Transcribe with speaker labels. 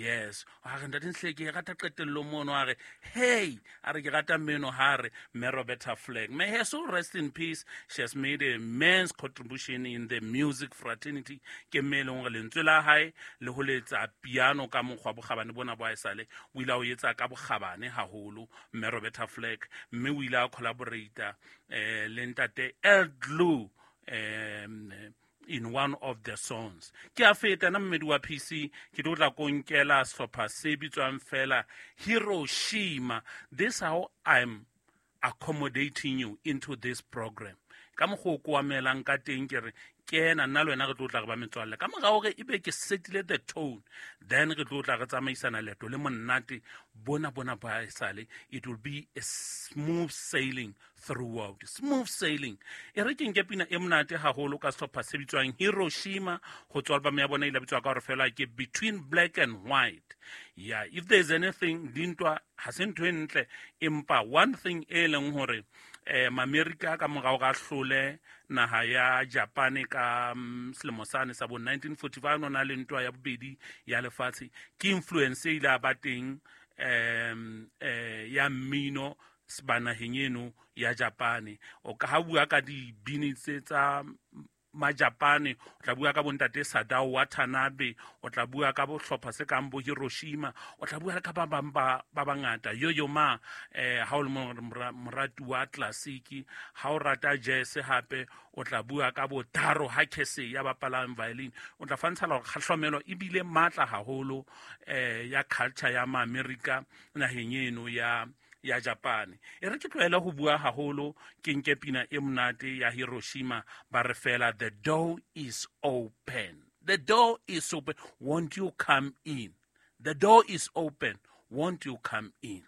Speaker 1: Yes, a re ntate Nhle, ke e rata qetellong mono. A re hey, a re ke rata mmeno ha re mme Roberta Flack, may her soul rest in peace. She has made a immense contribution in the music fraternity. Ke mme e leng gore lentswe la hae le ho letsa piano ka mokgwa bokgabane bona bo haesale o ile a o etsa ka bokgabane haholo, mme Roberta Flack. Mme o ile a collaborata le ntate El Glue in one of the songs. Ke a feta na mmedi wa PC, ke tlo tla ko nkela sehlopha se bitswang fela Hiroshima. This how I'm accommodating you into this program ka mokgwa o ko amelang ka teng. Ke re kena nna le wena re tlo tla re ba metswalle ka mora gore e be ke setile the tone, then re tlo tla re tsamaisana leeto le monate bona bona ba esale. It will be a smooth sailing throughout, smooth sailing. E re ke nke pina e monate haholo ka sehlopha se bitswang Hiroshima go tswa album ya bona e ile bitswa ka gore fela ke Between Black and White. Yeah, if there's anything, dintwa ha se ntho e ntle, empa one thing e leng hore Maamerika ka morao ga hlole naha ya Japane ka selemo sane sa bo 1945, no na le ntwa ya bobedi ya lefatshe, ke influence e ile a ba teng ya mmino ba naheng eno ya Japane. O ka ha bua ka dibini tse tsa Majapane, o tla bua ka bontate Sadao Watanabe, o tla bua ka bohlopha se kang bo Hiroshima, o tla bua le ka ba bang ba bangata, Yoyo Ma. Ha o le morati wa classic, ha o rata jazz hape, o tla bua ka bo Taro Hakese ya bapalang violin. O tla fantshala hore kgahlomelo ebile matla haholo ya culture ya Maamerika naheng eno ya Japane. E re ke tlohele ho bua haholo, ke nke pina e monate ya Hiroshima. Ba re fela the door is open, the door is open, won't you come in? The door is open, won't you come in?